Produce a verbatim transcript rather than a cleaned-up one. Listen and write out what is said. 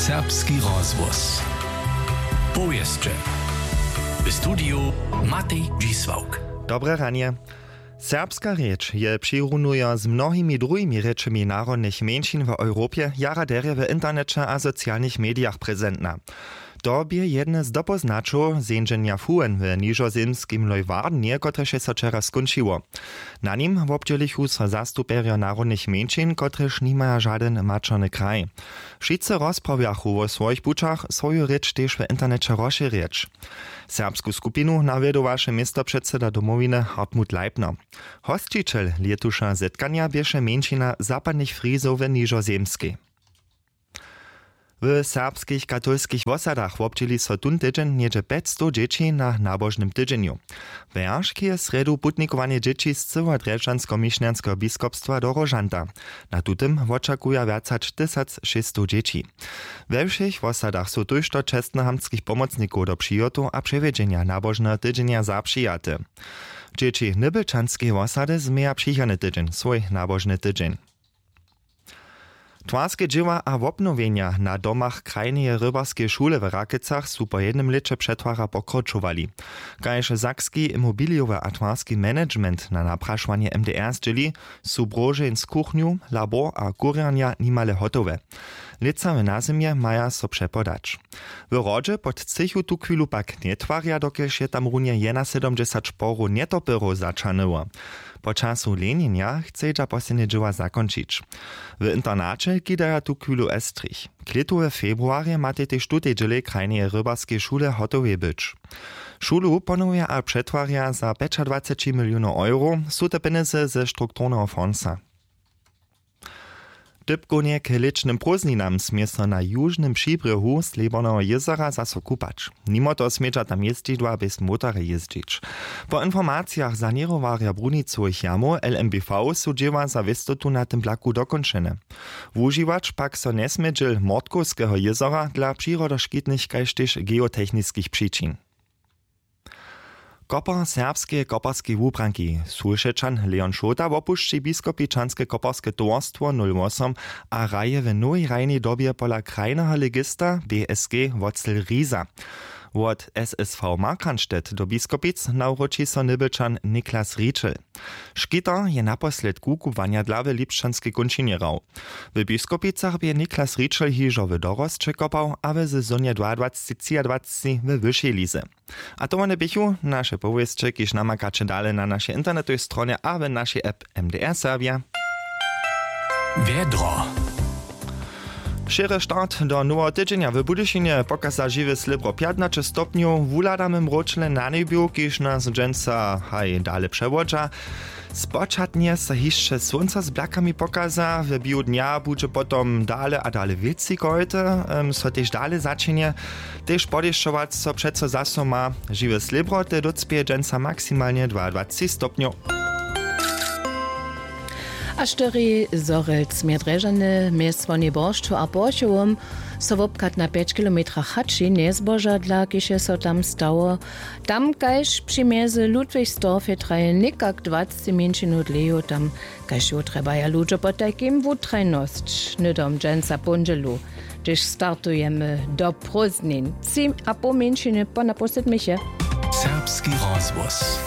Serbski rozhłos. Powěsće. W studiju Matej Dźisławk. Dobre ranje. Serbska rěč je přirunujo z mnohimi druhimi rěčemi narodnych mjeńšin w Europje jara derje w interneće a socialnych medijach prezentna. To bě jedne z dopóznaćow zjeńdźenja fuhen w nižozemskim Leuwardenje, kotrež je so wčera skónčiło. Na nim wobdźělichu so zastupjerjo narodnych mjeńšin, kotrež nimaja žadyn maćerny kraj. Wšitcy rozprawjachu wo swojich pućach, swoju rěč tež w interneće rozšěrjeć. Serbsku skupinu nawjedowaše městopředsyda Domowiny Hartmut Leipner. Hosćićel lětuša zetkanja běše mjeńšina zapadnych Frizow w Nižozemskej. W serbskich katolskich wosadach wobdźěli so tón tydźeń něhdźe pjećstow dźěći na nabožnym tydźenju. Wjeršk je srjedu putnikowanje dźěći z cyłeho drježdźanskomišnjanskeho biskopstwa do Róžanta. Na tutym wočakuja wjac hač tysac šěsćstow dźěći. We wšěch wosadach su tójšto čestnohamtskich pomocnikow do přihotow a přewjedźenja nabožneho tydźenja zapřijate. Dźěći nybylčanskej wosady změja přichodny tydźeń swój nabožny tydźeń. Twarske dźěła a wobnowjenja na domach krajneje rybarskeje šule w Rakecach su po jednym lěće přetwara pokročowali. Kaž sakski imobilijowy a twarski management na naprašowanje M D R zdźěli, su brožeń z kuchnju, labor a kurjernja nimale hotowe. Lětsa w nazymje maja so přepodać. W hrodźe pod třěchu tuchwilu pak njetwarja, dokelž je tam runje jenasydomdźesat šporow njetopyrow zaćahnyło. Po času lenjenja chcedźa poslednje dźěła zakónčić. W internaće kidaja tuchwilu estrich. Klětu we februarje matej tež tutej dźělej krajneje rybarskeje šule hotowej być. Šulu ponowja a přetwarja za pjećadwaceći milionow euro, su te pjenjezy ze strukturneho fondsa. Dypkownje k lěćnym prózdninam smě so na južnym přibrěhu Slěborneho jězora zaso kupać. Nimo toho smědźa tam jězdźidła bjez motorje jězdźić. Po informacijach saněrowarja brunicowych jamow L M B V su dźěła za wěstotu na tym plaku dokónčene. Wužiwać pak so njesmě dźěl Mortkowskeho jězora dla přirodoškitnych kaž tež geotechniskich přičin. Kopar serbskeje koparskej wubranki, Sulšećan Leon Šołta, wopušći biskopičanske koparske towarstwo nul wosom a hraje w nowej hrajnej dobje pola krajneho legista B S G Wotzel Riza. Wot S S V Markranstädt do Biskopic nawróći so Nybylčan Niklas Rietschel. Škitar je naposledku kubłanja dla w lipšćanskej kónčinje hrał. W Biskopicach bě Niklas Rietschel hižo w dorosće kopał a w sezonje dwaadwaceći třiadwaceći we wyšej lize. A to wone běchu naše powěsće, kiž namakaće dale na našej internetowej stronje a w našej app M D R Serbja. Wjedro. Šěry start do noweho tydźenja w Budyšinje pokaza žiwe slěbro pjatnaće stopnjow, wuhladamy mróčle na njebju, kiž nas dźensa haj dale přewodźa. Spočatnje so hišće słónco z blakami pokaza, w běhu dnja budźe potom dale a dale wětři kojty, em, so tež dale začinje. Tež podešćować so přeco zaso ma. Žiwe slěbro te dócpěje dźensa maksimalnje dwaadwaceći stopnjow. A štyri Zhorjelc mjez Drježdźany, mjez Słonjej Boršću a Porchowom so wobchad na pjeć kilometrach hači njezboža, dla kiž je so tam stało. Tam kaž při mjezy Ludwigsdorfje traje někak dwaceći mjeńšinow dlějow, tam kaž jo trjebaja ludźo potajkim wutrajnosć. Hnydom dźensa póndźelu, hdyž startujemy do prózdnin, tři a poł mjeńšiny po napoł sydmich je. Serbski rozhłos.